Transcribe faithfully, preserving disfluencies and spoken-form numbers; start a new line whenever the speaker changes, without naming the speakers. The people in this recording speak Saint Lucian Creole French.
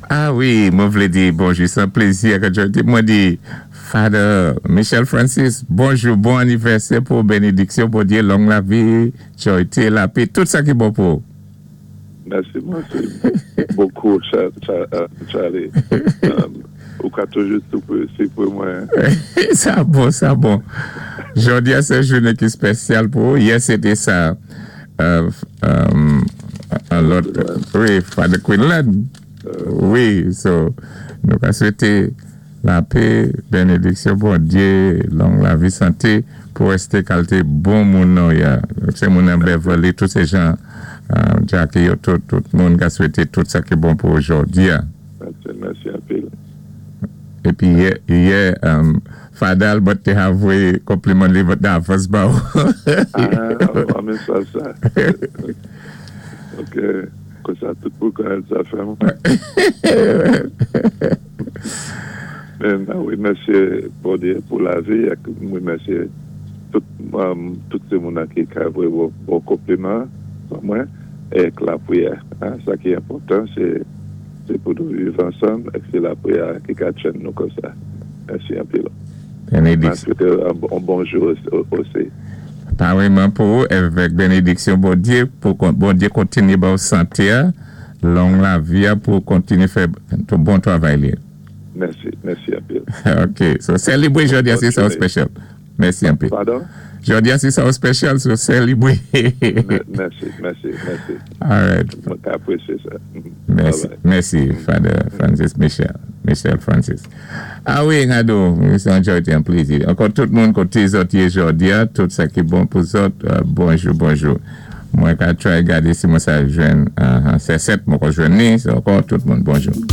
Ah wi, mwen vlé di bonjou, sé yon plézi ke mwen di Father Michel Francis, bonjou, bon anivèsè pou bénédiksyon, Bondyé, long lavi, jwayté, lapè, tout sa ki bon pou.
Mèsi, mèsi bokou, Charlie. Ou ka toujou sipwé mwen.
Sa bon, sa bon. Jòdi a sé jounen ki spésyal pou ou. Yè, sété sa. Euh, euh, lòt, wi, Father Quinlan. Wi, so, nou ka swété lapè, bénédiksyon, Bondyé, long lavi, santé, pou résté kalité bon moun nou, ya. Sé moun an Beverly, tout sé jan, euh, Jackie, yo, tout, tout moun ka swété tout sa ki bon pou jòdi a.
Mèsi, mèsi anpil.
Épi yè, yè um, Father Albert té voyé konpliman li davans ba ou.
Ah, men sa sa. Ok, konsa tout pou konnèt sa fè mwen. Men, wi, mèsi Bondyé pou lavi, wi, mèsi tout, um, tout sé moun ki ka voyé bon, bon konpliman pou mwen, é lapriyè. Hein, sa ki enpòtan, sé sé pou nou viv ansanm, é sé lapriyè ki ka tjenn nou konsa. Mèsi anpil.
Bénédiksyon.
Mwen swété yon bon bonjou osi.
Parèyman pou ou, avèk bénédiksyon Bondyé, pou Bondyé kontinyé ba ou santé, long lavi pou kontinyé fè tout bon travay li.
Mèsi, mèsi anpil.
Ok, so sélébwé jòdi a, sé sa spésyal. Mèsi anpil.
Padon?
Jòdi a, sé sa spésyal, so sélébwé.
Mèsi, mèsi, mèsi.
All right.
Mwen apwésyé sa.
Mèsi, mèsi, Father Francis Michel. Michel Francis. Ah wi, Nado, sé yon plézi. Ankò tout moun koté zòt yé jòdi a, tout sa ki bon pou zòt, euh, bonjou, bonjou. Mwen ka try gadé si mwen sa jwenn, uh, sé sèt mwen ka jwenn ni, sé ankò tout moun bonjou.